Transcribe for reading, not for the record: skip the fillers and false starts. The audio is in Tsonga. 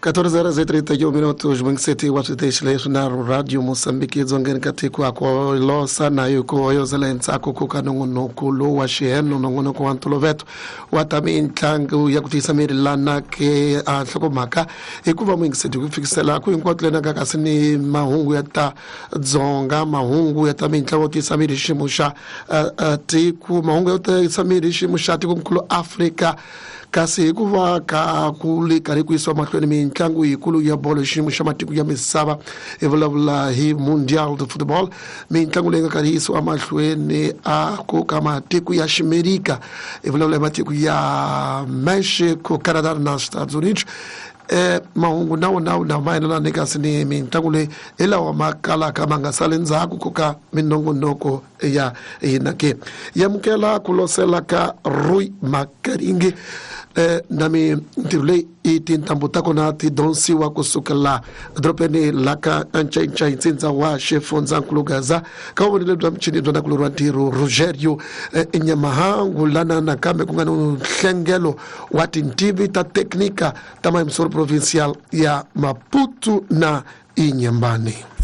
14 horas e 31 minutos mwengiseti wa switeshi leswi na Radio Mosambiki edzongeni ka tiko a ku losa na hi ku hoyozela endzhaku ku ka nongonoko lowu wa xiheno, nongonoko wa ntolovelo wa ta mitlangu ya ku tiyisa miri lana ke a nhlokomhaka hikuva muyingiseti ku fikisela ku hinkwato lena ka kasi ni mahungu ya ta dzonga, mahungu ya ta mitlangu yo tiyisa miri hi xiyimo xa tiko, mahungu yo tiyisa miri hi xiyimo xa tikonkulu Afrika. Kasi hikuva ka ku le karhi ku yisiwa mahlweni mitlangu yikulu ya bolo hi xiyimo xa matiko ya misava, hi vulavula hi Mundial de Football, mitlangu leyi nga karhi yi yisiwa mahlweni a ku ka matiko ya Ximerika, hi vulavula hi matiko ya Mexico, Canada na Estados Unidos. Mahungu na wona na mayelana ni kasi ni mitlangu leyi hi lawa ma kalaka ma nga sali ndzhaku ku ka minongonoko ya hina ke. Yamukela ku losela ka Rui Makaringi na mintirho leyi i tintambu ta kona ti donsiwa kusukela edorobeni la ka Ncayincai, ntsindza wa xifundzankulu Gaza, ka vuvonelo bya michini bya nakulorhi wa ntirho Rogerio Nyamahangu, lana nakambe ku nga ni nhlengelo wa tintivi ta teknika ta mayimisoro provincial ya Maputo na Inhambane.